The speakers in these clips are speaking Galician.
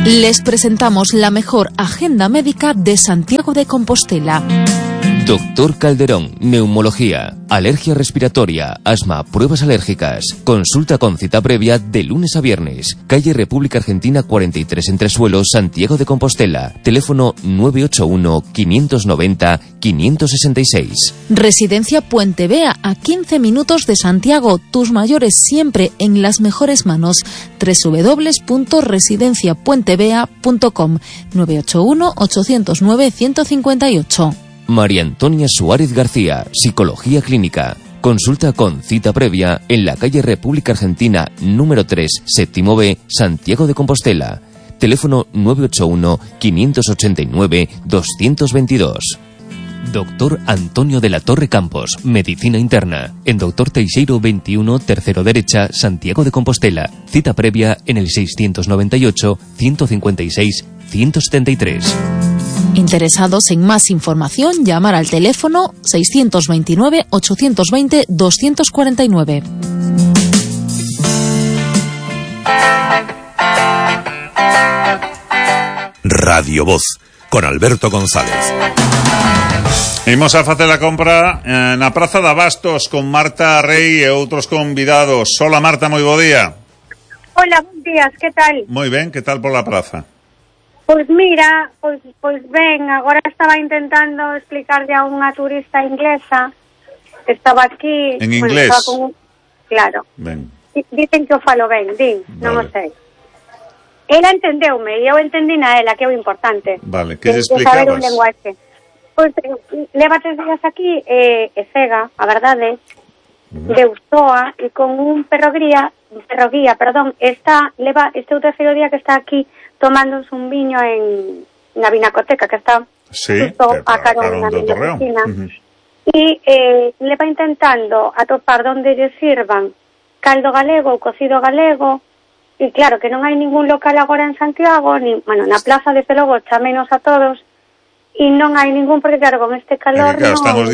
Les presentamos la mejor agenda médica de Santiago de Compostela. Doctor Calderón, neumología, alergia respiratoria, asma, pruebas alérgicas. Consulta con cita previa de lunes a viernes. Calle República Argentina 43 Entresuelos, Santiago de Compostela. Teléfono 981-590-566. Residencia Puente Vea, a 15 minutos de Santiago. Tus mayores siempre en las mejores manos. www.residenciapuentevea.com 981-809-158. María Antonia Suárez García, Psicología Clínica. Consulta con cita previa en la calle República Argentina número 3, séptimo B, Santiago de Compostela. Teléfono 981-589-222. Doctor Antonio de la Torre Campos, Medicina Interna. En Doctor Teixeiro 21, tercero derecha, Santiago de Compostela. Cita previa en el 698-156-173. Interesados en más información, llamar al teléfono 629-820-249. Radio Voz, con Alberto González. Imos a facer a compra na Praza de Abastos con Marta Rey e outros convidados. Hola Marta, moi bo día. Hola, bons días, que tal? Moi ben, que tal pola praza? Pois mira, pois ben, agora estaba intentando explicarle a unha turista inglesa que estaba aquí... En inglés? Claro. Ben. Dicen que o falo ben, non o sei. Ela entendeume e eu entendí na ela, que é o importante. Vale, que lle explicabas? Saber un lenguaxe. Pois leva 3 días aquí e cega, a verdade, de Ustoa, e con un perro guía, leva este o terceiro día que está aquí tomándose un viño na Vinacoteca, que está justo a carón na oficina. E leva intentando atopar onde lle sirvan caldo galego ou cocido galego, e claro que non hai ningún local agora en Santiago, na plaza de Pelogo chámenos a todos, e non hai ningún, porque claro, con este calor claro, están os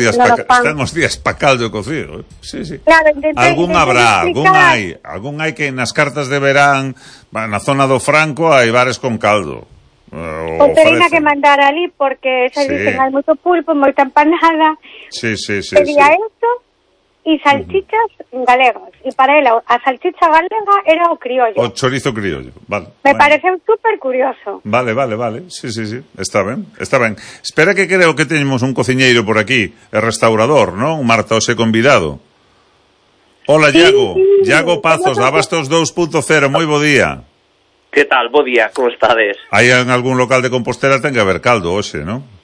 días pa caldo cocido. Sí. Claro, algún habrá, algún hai que nas cartas de verán, na zona do Franco hai bares con caldo. O terina que mandar ali, porque xa dicen hai moito pulpo, moita empanada. Sí. Sería esto e salchichas galegas. E para ela, a salchicha galega era o criollo. O chorizo criollo, vale. Me pareceu super curioso. Vale. Sí. Está ben. Espera que creo que teñemos un cociñeiro por aquí, e restaurador, non? Marta, ose convidado. Hola, Iago. Sí. Iago Pazos, da Abastos 2.0, moi bo día. Que tal? Bo día, como estades? Hai en algún local de Compostela ten que haber caldo, hoxe, non?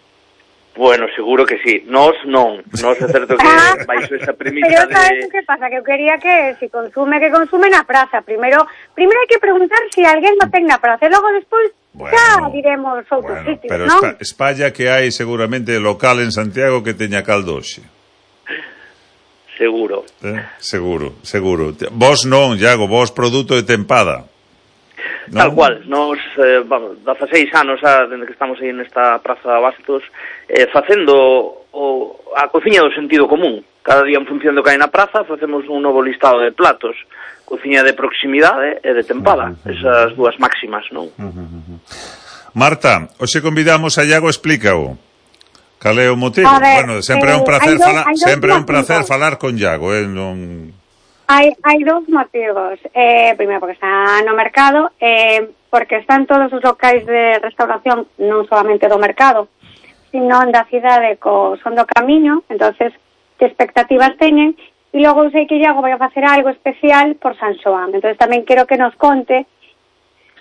Bueno, seguro que sí. Nos non. Nos é certo que baixo esa premisa pero sabes que pasa? Que eu quería que si consume na praza. Primeiro hai que preguntar si alguén no ten na praza. E logo despois xa diremos outros sitios, pero non? Pero espalla que hai seguramente local en Santiago que teña caldo hoxe. Seguro. Seguro. Vos non, Iago, vos produto de tempada. ¿No? Tal cual, nos 16 anos dende que estamos aí nesta Praza de Abastos facendo a cociña do sentido común. Cada día en función do que hai na praza facemos un novo listado de platos, cociña de proximidade e de tempada, esas dúas máximas, non? Marta, hoxe convidamos a Iago, explícao. Cal é o motivo? Bueno, sempre é un prazer falar con Iago, non... Hai dous motivos. Primeiro, porque está no mercado, porque están todos os locais de restauración, non solamente do mercado, sino da cidade co son do camiño, entonces que expectativas teñen, e logo sei que Iago vai a facer algo especial por San Xoán, entonces tamén quero que nos conte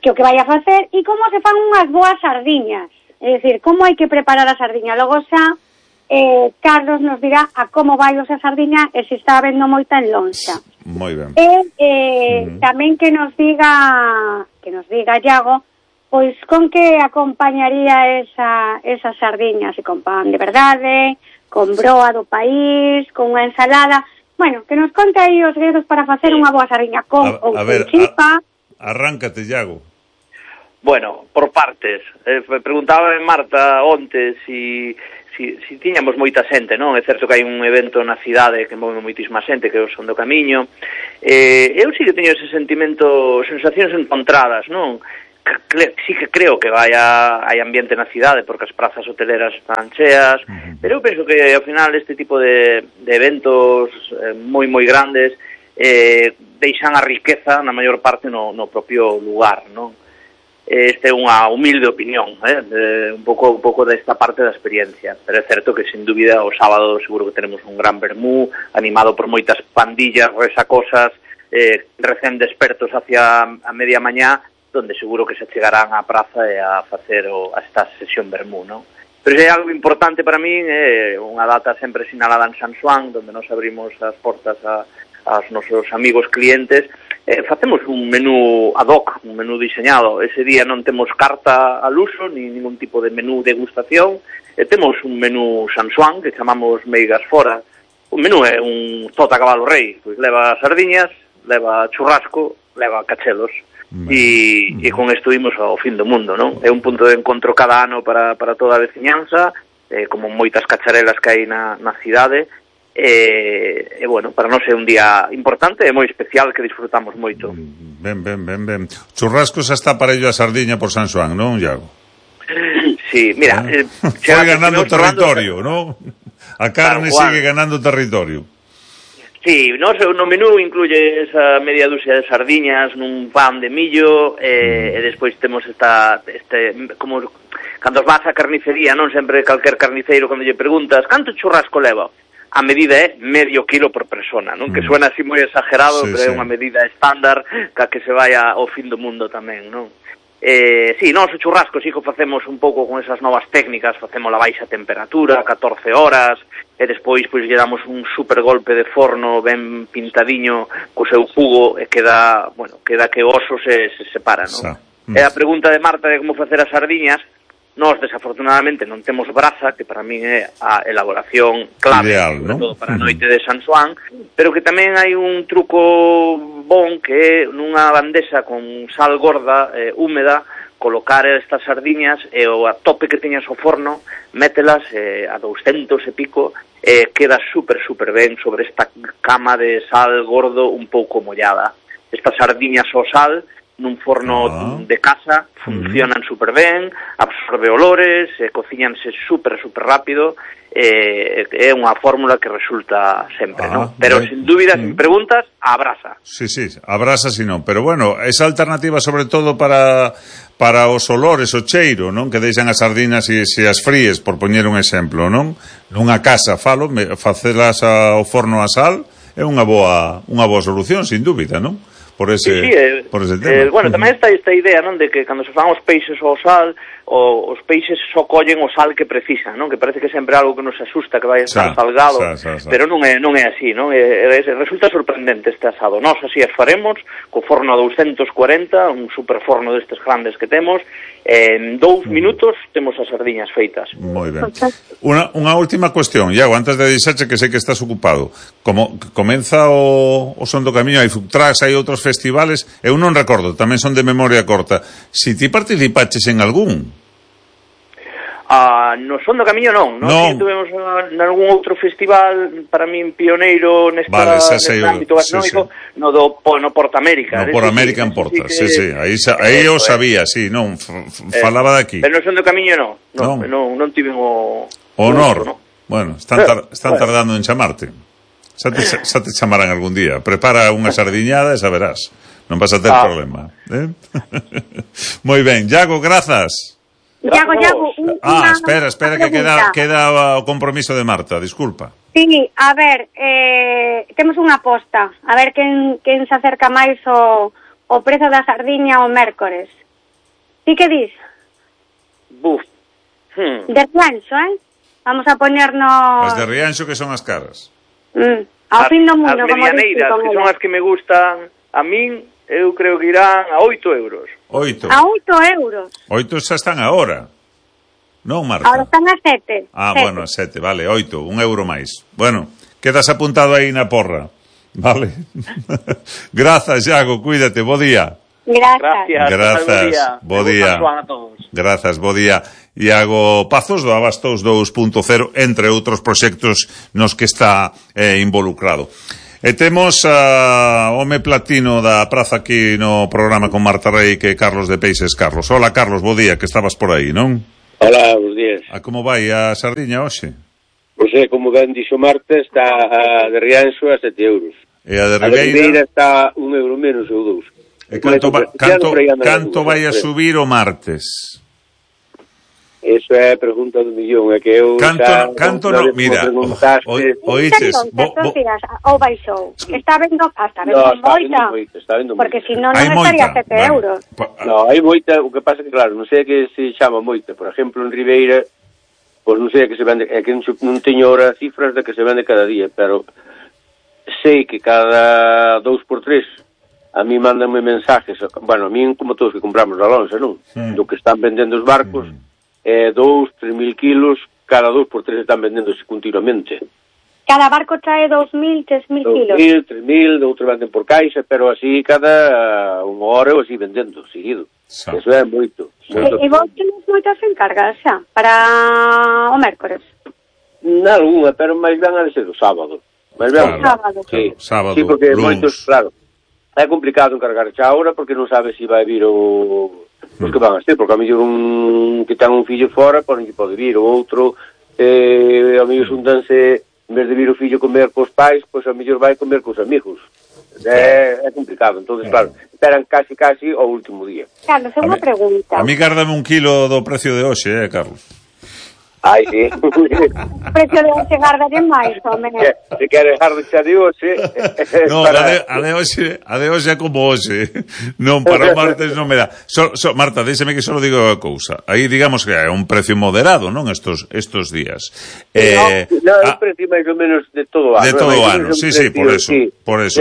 que o que vai a facer e como se fan unhas boas sardiñas, é dicir, como hai que preparar a sardiña. Logo xa Carlos nos dirá a como vai esa sardiña e se está habendo moita en lonxa. Moi ben. Tamén que nos diga Iago, pois con que acompañaría esa sardiña, se con pan de verdade, con broa do país, con unha ensalada. Bueno, que nos conte aí os segredos para facer unha boa sardiña con ou con chipa. Arráncate, Iago. Bueno, por partes. Preguntaba Marta onte si tiñamos moita xente, non? É certo que hai un evento na cidade que move moitísima xente, que é o Son do Camiño. Eu sí que teño ese sentimento, sensacións encontradas, non? sí que creo que hai ambiente na cidade porque as prazas hoteleras están cheas, pero eu penso que ao final este tipo de eventos moi grandes deixan a riqueza na maior parte no propio lugar, non? Esta é unha humilde opinión, un pouco desta parte da experiencia, pero é certo que sin dúbida o sábado seguro que tenemos un gran vermú animado por moitas pandillas resacosas recén despertos hacia a media mañá, donde seguro que se chegarán á praza e a facer esta sesión vermú, non? Pero é algo importante para min, é unha data sempre sinalada en San Xoán, donde nos abrimos as portas aos nosos amigos clientes, facemos un menú ad hoc, un menú diseñado. Ese día non temos carta al uso, ni ningún tipo de menú degustación, temos un menú San Xoán, que chamamos meigas fora. O menú é un tota cabalo rei, pois leva sardiñas, leva churrasco, leva cachelos. E con isto imos ao fin do mundo, non? É un punto de encontro cada ano para toda a veciñanza, como moitas cacharelas que hai na cidade, e bueno, para nós é un día importante e moi especial que disfrutamos moito. Ben. Churrasco xa está para ello a sardiña por San Xoán, non, Iago? Sí, mira... foi ganando territorio, non? A carne sigue ganando territorio. Sí, no menú incluye esa media dúcia de sardiñas nun pan de millo e despois temos como cando vas á carnicería, non sempre calquer carniceiro cando lle preguntas canto churrasco leva, a medida é medio kilo por persona, non? Que suena así moi exagerado, pero é unha medida estándar que se vai ao fin do mundo tamén, non? Sí, nós o churrasco sí que facemos un pouco con esas novas técnicas, facemos a baixa temperatura, 14 horas, e despois pois lle damos un super golpe de forno ben pintadiño co seu jugo e queda que o oso se separa, non? E a pregunta de Marta de como facer as sardiñas, nós desafortunadamente non temos brasa, que para min é a elaboración clave, ideal, sobre todo para a noite de San Xoán, pero que tamén hai un truco bon que é nunha bandexa con sal gorda, húmeda, colocar estas sardiñas e a tope que teñas o forno, mételas a 200 e pico, queda super ben sobre esta cama de sal gordo un pouco mollada. Estas sardiñas ao sal nun forno de casa funcionan super ben, absorbe olores, cociñanse super rápido, é unha fórmula que resulta sempre, non? Pero sin dúbida, sin preguntas, a brasa. Sí, a brasa si non, pero bueno, esa alternativa sobre todo para os olores, o cheiro, non? Que deixan as sardinas e se as fríes, por poñer un exemplo, non? Nunha casa, facelas ao forno a sal é unha boa solución, sin dúbida, non? Por ese tema. Bueno, tamén está esta idea, non, de que cando se fan os peixes ao sal, os peixes só collen o sal que precisan, non? Que parece que sempre algo que nos asusta, que vai estar salgado, pero non é así, non? Resulta sorprendente este asado. Nós así as faremos, co forno a 240, un super forno destes grandes que temos, en 2 minutos temos as sardiñas feitas. Moi ben. Unha última cuestión, Iago, antes de dixerche que sei que estás ocupado. Como comeza o Son do Camiño, hai food trucks, hai outros festivales, eu non recordo, tamén son de memoria corta. Si ti participaches en algún? No Son do Camiño non. Si tuvemos nalgún outro festival para min pioneiro neste ámbito gastronómico, no Porta América. No Por América en Porta, sí. Aí eu sabía, sí, non, falaba de aquí. Pero no Son do Camiño non tiven o honor. Bueno, están tardando en chamarte. Xa te chamarán algún día. Prepara unha sardiñada e saberás. Non vas a ter problema. Moi ben, Iago, grazas. Iago, espera que queda o compromiso de Marta, disculpa. Sí, a ver, temos unha aposta, a ver quen se acerca máis o prezo da sardiña o mércores. Ti que dis? De Rianxo, Vamos a poñernos... As de Rianxo que son as caras. Ao fin do mundo, como dixo. As que son as que me gustan a min, eu creo que irán a 8 euros. 8? A 8 euros. 8 xa están agora. Non, Marta? Agora están a 7. Bueno, a 7, vale, 8, 1 euro máis. Bueno, quedas apuntado aí na porra. Vale. Grazas, Iago, cuídate, bo día. Grazas. Bo día. Grazas, bo día. Iago Pazos do Abastos 2.0, entre outros proxectos nos que está involucrado. E temos a home platino da praza aquí no programa con Marta Rei, que é Carlos de Peixes. Carlos, hola Carlos, bo día, que estabas por aí, non? Hola, bons días. A como vai a sardiña hoxe? Pois como ben dixo Marta, está a de Rianxo a 7 euros. E a de A de Ribeira está un euro menos ou 2. E canto vai a subir o martes? Eso é a pregunta do millón, é que eu canto no, mira, oíches, ou baixou. Está vendo moita. Está vendo porque moita. se non estaría 7 euros. No, hai moita, o que pasa que claro, non sei que se chama moita. Por exemplo, en Ribeira, pois non sei que se vende, é que non teño ahora cifras de que se vende cada día, pero sei que cada 2x3 a mí mandanme mensajes, bueno, a mí como todos que compramos da Lonsa, non? Do que están vendendo os barcos, 2, 3.000 kilos, cada 2x3 están vendéndose continuamente. Cada barco trae 2.000, 3.000 kilos. 2.000, 3.000, outros venden por caixa, pero así cada unha hora ou así vendendo, seguido. Eso é moito. E vos tenes moitas encargas xa, para o mércores? Nalgúna, pero máis ben a de ser o sábado. Máis ben o sábado. Sábado, sí, porque lunes. Moitos, claro, é complicado encargar xa ahora porque non sabe se vai vir os que van a ser, porque a mellor un que ten un fillo fora, non lle pode vir, o outro a mellor xuntanse, en vez de vir o fillo comer cos pais, pois a mellor vai comer cos amigos. É complicado, entonces claro, esperan casi ao último día. Carlos, é unha pregunta. A mí gárdame un kilo do precio de hoxe, Carlos? Ai, sí. O precio de hoxe gardalle máis, home. Se queres garde xa de hoxe... No, a de hoxe é como hoxe. Non, para o martes non me dá. Marta, déxeme que só digo a cousa. Aí digamos que é un precio moderado, non? Estos días. No, é un precio máis ou menos de todo o ano. De todo o ano, sí, por eso.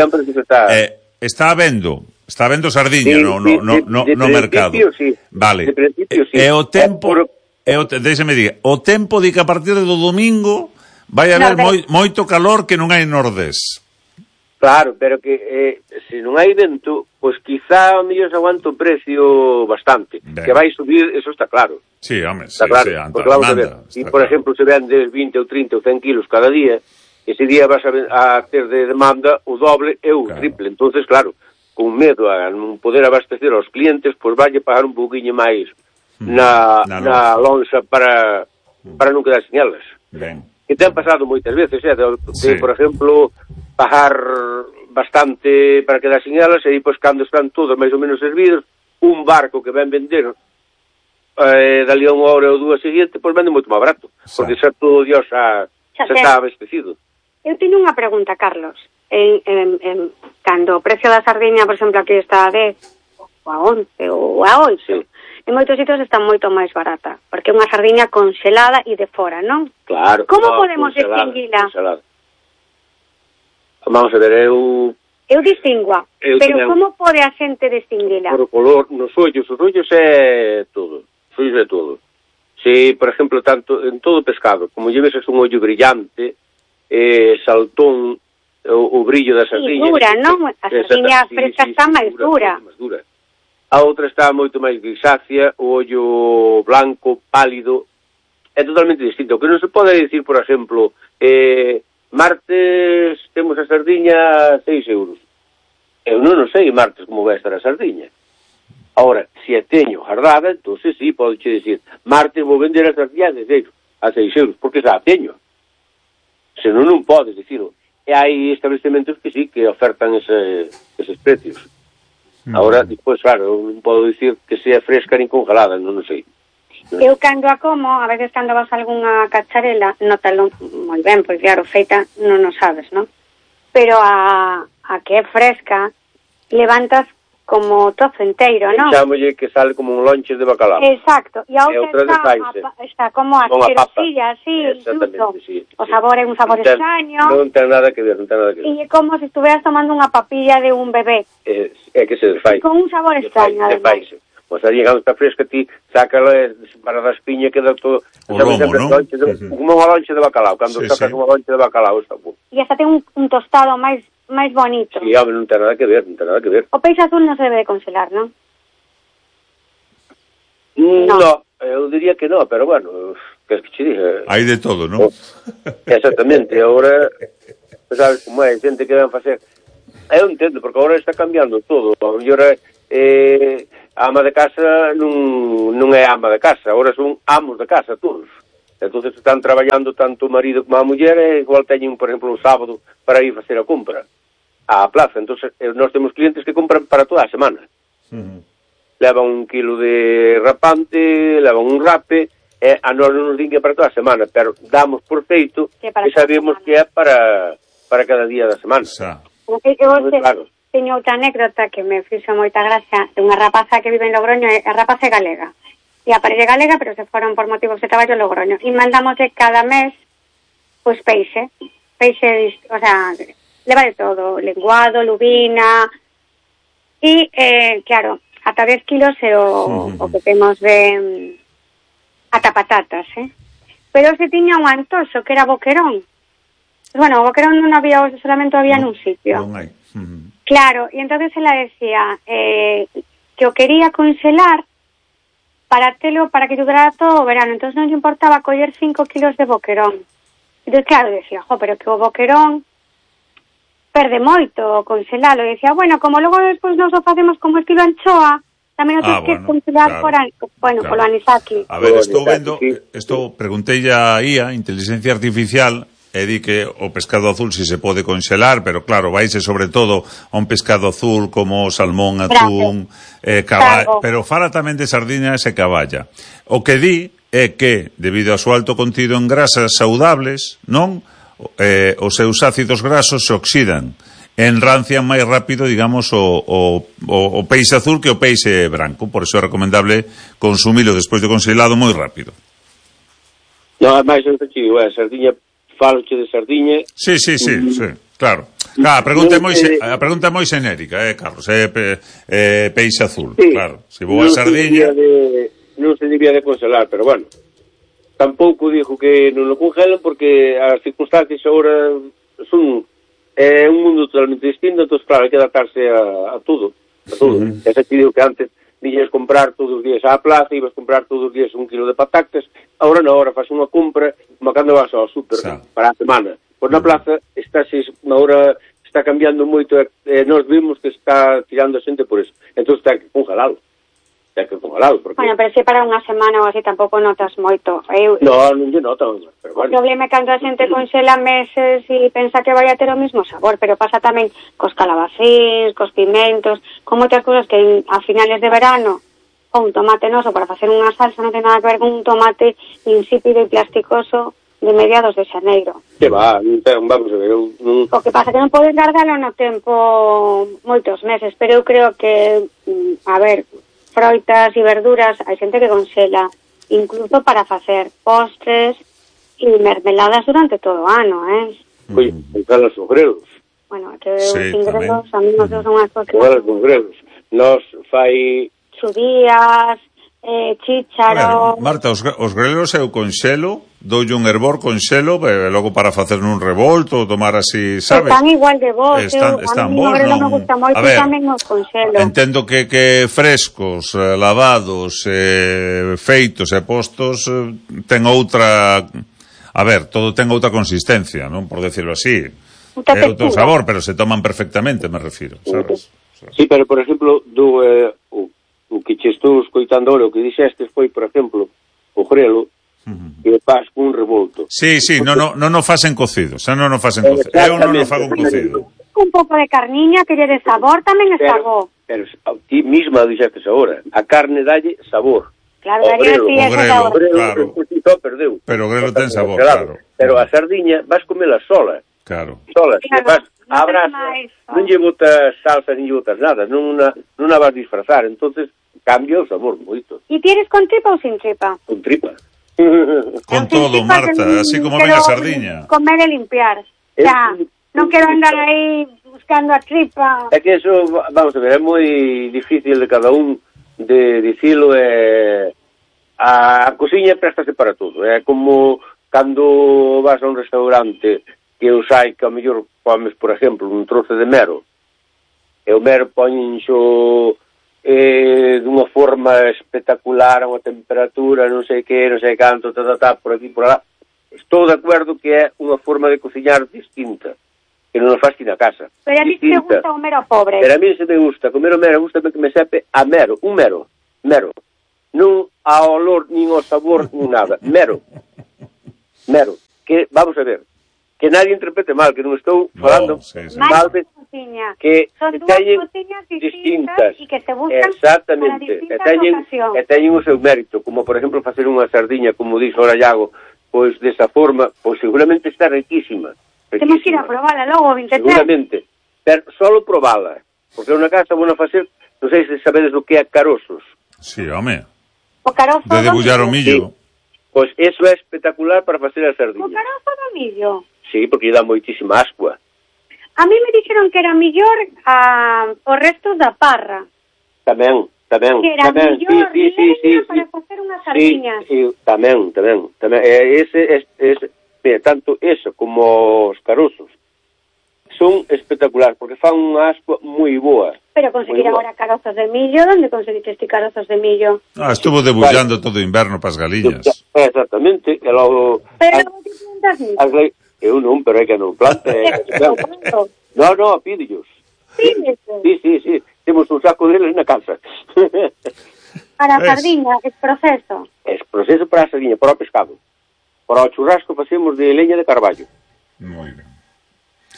Está vendo sardiña no mercado. Sí. Vale. De principio, sí. E o tempo... Déxeme diga, o tempo di que a partir do domingo vai haber moito calor que non hai nordés. Claro, pero que se non hai vento, pois quizá o mellor se aguanta o precio bastante. Ben. Que vai subir, eso está claro. Sí, home, está claro. Porque vamos a ver, e por exemplo se vendes 20 ou 30 ou 100 kilos cada día, ese día vas a ter de demanda o doble e o triple. Entonces, claro, con medo a non poder abastecer aos clientes, pois vai pagar un pouquiño máis na lonxa para non quedar sin elas. Ben. Que ten pasado moitas veces, por exemplo, pagar bastante para quedar sin elas, e depois cando están todos máis ou menos servidos, un barco que ven vender dali a unha hora ou dúas seguinte, pois vende moito máis barato, porque xa todo Dios xa está abastecido. Eu teño unha pregunta, Carlos. Cando o precio da sardiña, por exemplo, aquí está a 10 ou a 11 ou a 8, sí. En moitos sitios está moito máis barata, porque é unha sardiña congelada e de fora, non? Claro. Como podemos distinguila? Vamos a ver, eu distingua, pero como pode a xente distinguila? Por o color, nos ollos, os ollos é todo, os ollos é todo. Se, por exemplo, tanto en todo pescado, como lleves un ollo brillante, saltón, o brillo da sardiña. E dura, non? A sardiña fresca está máis dura. A outra está moito máis grisácea, o ollo blanco, pálido, é totalmente distinto. O que non se pode dicir, por exemplo, martes temos a sardiña 6 euros. Eu non sei martes como vai estar a sardiña. Ahora, se a teño guardada, entón sí, pode dicir, martes vou vender a sardiña a 6 euros, porque xa a teño. Se non podes dicirlo. E hai establecementos que sí, que ofertan eses precios. Ahora, despois, claro, non podo dicir que sea fresca nin congelada, non sei. Eu cando a como, a veces cando vas a algunha cacharela, notalo moi ben, porque claro, feita non o sabes, non? Pero a que é fresca, levantas como trozo enteiro, non? Chámolle que sale como un lonche de bacalao. Exacto, e a outra está como a xerosilla, así, incluso. Sí. O sabor é un sabor extraño. Non ten nada que ver, E é como se estuveras tomando unha papilla de un bebé. É que se desfai. Con un sabor extraño, además. Pois ali, cando está fresca, ti sácala para da espiña, queda todo... O lomo, non? Como unha lonche de bacalao, cando sacas unha lonche de bacalao, está bom. E hasta ten un tostado máis bonito. Sí, home, non ten nada que ver. O peixe azul non se debe de congelar, non? No, eu diría que non, pero bueno, que che diga... Hai de todo, non? Exactamente, agora sabes como é, xente que ven facer. Eu entendo, porque agora está cambiando todo. A mellor a ama de casa non é ama de casa, agora son amos de casa todos. Entonces están traballando tanto o marido como a muller, e igual teñen, por exemplo, o sábado para ir facer a compra á plaza. Entonces nós temos clientes que compran para toda a semana. Levan 1 kilo de rapante, levan un rape, a nós non nos din que para toda a semana, pero damos por feito que sabemos que é para cada día da semana. Claro. Teño outra anécdota que me fixo moita gracia de unha rapaza que vive en Logroño, a rapaza é galega. E a parella galega, pero se foron por motivos de traballo a Logroño. E mandamos cada mes, pois peixe, o sea, leva de todo, lenguado, lubina, e, claro, ata 10 kilos é o que temos de ata patatas, Pero se tiña un antoxo que era boquerón. Bueno, o boquerón non había, solamente había nun sitio. Non hai. Claro, e entonces ela decía que o quería congelar para que durara todo o verano. Entonces non lle importaba coller 5 kilos de boquerón. Entón, claro, decía, pero que o boquerón perde moito congelalo. E decía, bueno, como logo despois nos o facemos como estilo anchoa, tamén o tens que congelar polo anisaki. A ver, preguntei a IA, inteligencia artificial, e di que o pescado azul si se pode congelar, pero claro, vaise sobre todo a un pescado azul como o salmón, atún, pero fala tamén de sardiñas e caballa. O que di é que, debido ao seu alto contido en grasas saudables, non, os seus ácidos grasos se oxidan, enrancian máis rápido, digamos, o peixe azul que o peixe branco. Por iso é recomendable consumilo despois de congelado moi rápido. Non, é máis sencillo, a sardiña, faloche de sardiña. Sí, claro. A pregunta é moi xenérica, Carlos, peixe azul, sí, claro. Se vou a sardiña... Non se debía de congelar, pero bueno, tampouco dijo que non lo congelan porque as circunstancias agora son un mundo totalmente distinto, entón, claro, hai que adaptarse a todo. Ese te digo que antes viñas comprar todos os días á plaza, ibas comprar todos os días 1 kilo de patatas, agora na hora faz unha compra, como cando vas ao súper para a semana. Pois na plaza agora está cambiando moito, nós vimos que está tirando a xente por eso. Entón ten que congelalo. Porque... Bueno, pero se para unha semana ou así tampouco notas moito. Non lle noto, pero bueno. O problema é cando a xente conxela meses e pensa que vai a ter o mesmo sabor, pero pasa tamén cos calabacíns, cos pimentos, con moitas cousas que a finales de verano ou un tomate noso para facer unha salsa non ten nada que ver con un tomate insípido e plasticoso de mediados de xaneiro. Que vamos a ver. O que pasa que non podes guardalo no tempo moitos meses, pero eu creo que, a ver, froitas e verduras, hai xente que conxela incluso para facer postres e mermeladas durante todo o ano, Oi, con os grelos. Bueno, que os ingresos, a mí nos son unhas cosas. Os grelos. Nos fai chudías, chícharo... Marta, os grelos eu conxelo, doulle un hervor conxelo, logo para facer un revolto, tomar así, sabes? Están igual de vos, están bons, non me gusta moito, tamén os conxelo. Entendo que frescos, lavados, feitos e postos, ten outra... A ver, todo ten outra consistencia, non? Por decirlo así. É outro sabor, pero se toman perfectamente, me refiro, sabes? Sí, pero, por exemplo, o que che estou escoitando ahora, o que dixestes foi, por exemplo, o grelo, que faz un revolto. Sí, non o facen cocido, non o facen cocido. Eu non o fago cocido. Un pouco de carniña que lle de sabor tamén está bo. Pero ti misma dixestes agora, a carne dalle sabor. Claro, dalle o grelo, perdeu. Pero o grelo ten sabor, claro. Pero a sardiña vas comela sola. Claro. Sola, que vas a brasa, non lle botas salsa, nin lle botas nada, non a vas disfrazar, entonces cambia o sabor moito. E tienes con tripa ou sin tripa? Con tripa. Con todo, Marta, así como ven a sardiña. Comer e limpiar. Xa, non quero andar aí buscando a tripa. É que eso, vamos a ver, é moi difícil de cada un de dicilo, a cociña préstase para todo. É como cando vas a un restaurante que os hai que ao mellor comes, por exemplo, un trozo de mero, e o mero poñenxo dunha forma espectacular, a unha temperatura, non sei que, non sei canto, por aquí, por lá. Estou de acordo que é unha forma de cociñar distinta. que non o faz ti na casa. Pero a mí te gusta o mero pobre. Pero a mí se me gusta, comer o mero, gusta que me sepe a mero, un mero. Non a olor, nin o sabor, nin nada. Mero. Que, vamos a ver, que nadie interprete mal, que non estou falando mal de que son dúas cociñas distintas e que se buscan para distintas ocasións. E teñen o seu mérito, como por exemplo facer unha sardiña, como dixo ora Iago, pois desa forma, pois seguramente está riquísima. Temos que ir a probarla logo, 23. Seguramente, pero solo probala, porque unha casa bueno facer, non sei se sabedes o que é caroços. Sí, home. O carozo de debullar o millo. Pois eso é espectacular para facer a sardiña. O carozo do millo? Sí, porque lle dá moitísima ascua. A mí me dixeron que era millor os restos da parra. Tamén. Que era millor leña para facer unhas sardiñas. Sí, tamén. Tanto eso como os carozos son espectaculares, porque fan unha ascua moi boa. Pero conseguir agora carozos de millo, onde conseguiste este carozos de millo? Estuvo debullando todo o inverno para as galiñas. Exactamente. E logo... Pero non te plantas millo? Eu non, pero é que non planta. Non, pídellos. Sí. Temos un saco deles na casa. Para a sardiña, es proceso? Es proceso para a sardiña, para o pescado. Para o churrasco facemos de leña de carballo. Moi ben.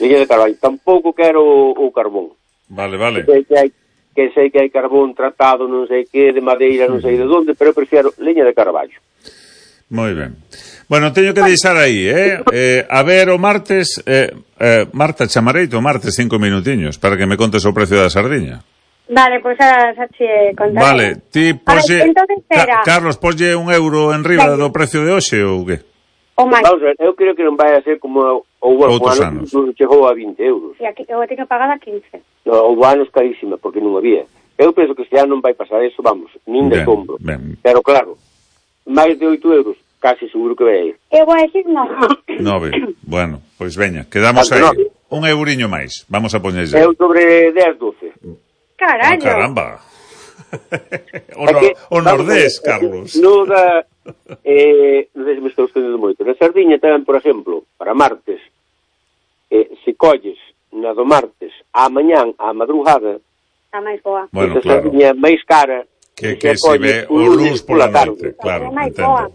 Leña de carballo. Tampouco quero o carbón. Vale. Que sei que hai carbón tratado, non sei que, de madeira, non sei de onde, pero eu prefiero leña de carballo. Moi ben. Bueno, teño que deixar aí, a ver o martes, Marta, chamareito o martes 5 minutiños para que me contes o precio da sardiña. Vale, pois xa che contaré. Vale, ti poslle... Carlos, poslle €1 en riba do precio de hoxe ou que? O máis. Vamos a ver, eu creo que non vai a ser como outros anos. Chegou a €20. E aquí eu teño pagada 15. No, o anos carísima, porque non había. Eu penso que este ano non vai pasar eso, vamos, nin de sombro. Pero claro, máis de €8, casi seguro que vai a ir. Eu vou a decir 9. 9, bueno, pois veña, quedamos aí. Un euriño máis, vamos a poñerlle. Eu sobre 10, 12. Carallo. Caramba. O nordés, Carlos. Non sei se me estou estendendo moito. Na sardiña tamén, por exemplo, para martes, se colles na do martes, a mañán, a madrugada, está máis boa. Bueno, claro. Sardiña máis cara que se ve o luz pola noite. Claro, entendo.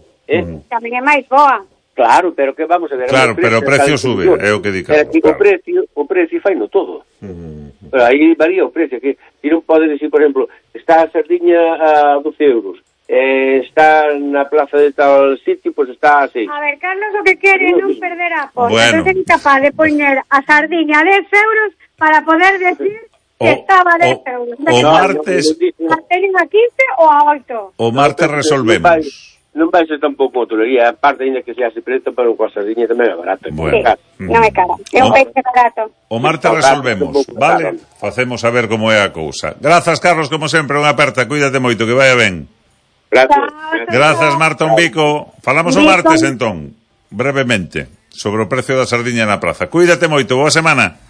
Tamén é máis boa. Claro, pero que vamos a ver... Claro, pero o precio sube, é o que di Carlos. O precio fai no todo. Pero aí varía o precio, que si non podes decir, por exemplo, está a sardiña a €12, está na plaza de tal sitio, pois está a 6. A ver, Carlos o que quere non perder a posta. Bueno. Non é capaz de poñer a sardiña a €10 para poder decir que estaba a €10. O martes... A teñen a 15 ou a 8? O martes resolvemos. Non vai ser tampouco autolería, a parte ainda que se hace preto, pero coa sardiña tamén é barata. Bueno. Non é cara, é un peixe barato. O martes resolvemos, vale? Facemos a ver como é a cousa. Grazas, Carlos, como sempre, unha aperta, cuídate moito, que vaya ben. Grazas, Marta Umbico. Falamos o martes, entón, brevemente, sobre o precio da sardiña na praza. Cuídate moito, boa semana.